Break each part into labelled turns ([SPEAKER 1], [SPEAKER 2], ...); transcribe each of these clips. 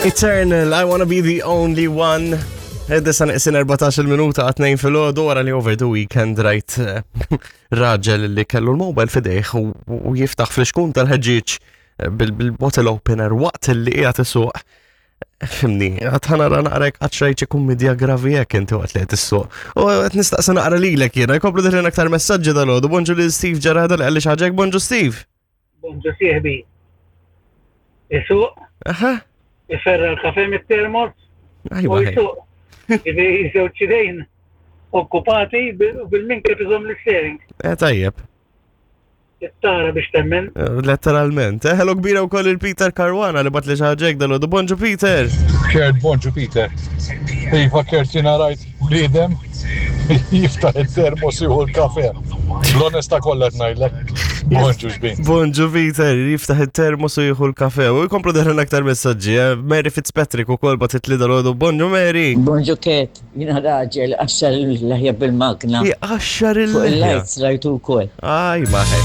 [SPEAKER 1] Eternal, I wanna be the only one. Id-disa neqsin 14 minuta għat-tnejn fil-ħodu wara li over the weekend rajt eh, raġel li kellu l-mobile fidejh u jiftaħ fl-xkun tal-ħġieġ eh, bil-bottle opener waqt li qiegħed isuq. Fimni, għad ħanara naqrek għad xrajt xi kummedja gravi jekk inti waqt li qed issuq. U qed nistaqsi naqra lilek jiena, jkomplu diħlin aktar messaġġi dal-għodu. Bonġu lil Steve Ġarada li qalli xi ħaġa bonġu Steve.
[SPEAKER 2] Bonġu sieħbi. Isuq.
[SPEAKER 1] Aha.
[SPEAKER 2] Iferra l-kafe mit-termos.
[SPEAKER 1] Ajwa.
[SPEAKER 2] U jisuq. Ġifieri żewġ idejn okkupati bil-minkeb iżomm l-steering.
[SPEAKER 1] Eh tajjeb.
[SPEAKER 2] Tara biex temmen.
[SPEAKER 1] Eh, letteralment. Eh, hello kbira wkoll il-Peter Caruana li bat li xi dal Bonġu Peter.
[SPEAKER 3] Kert, bonġu Peter. Iva Kert jiena rajt Bniedem jiftaħ it-termos jieħu l-kafe. L-onesta kollha qed ngħidlek. Bonġu xbin.
[SPEAKER 1] Bonġu Peter, jiftaħ it-termos u jieħu l-kafe. U jkomplu deħlin aktar messaġġi. Eh? Mary Fitzpatrick u kol batit li dal-għodu. Bonġu Mary.
[SPEAKER 4] Bonġu Ket, jina raġel qaxxar il-leħja bil-magna.
[SPEAKER 1] Jqaxxar
[SPEAKER 4] Fuq
[SPEAKER 1] il-leħja.
[SPEAKER 4] il-lights rajtu wkoll.
[SPEAKER 1] Aj, ma ħej.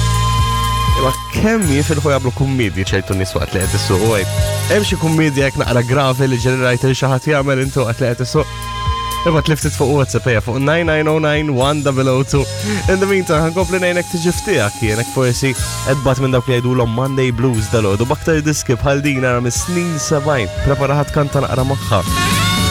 [SPEAKER 1] Imma kemm jifilħu jagħmlu kummedji ċertu nies waqt li qed issuq u għajb. Hemm xi kummedja jekk naqra gravi li ġeri rajt il xi ħadd jagħmel intu waqt li qed issuq. Imma tliftit fuq WhatsApp ejja fuq 9909-1002. In the meantime, ħankompli ngħinek tiġi ftiegħek jienek forsi qed bat minn dawk li jgħidulhom Monday Blues dal-għodu b'aktar diski bħal din ara mis-snin 70. Prepara ħadd kanta naqra magħha.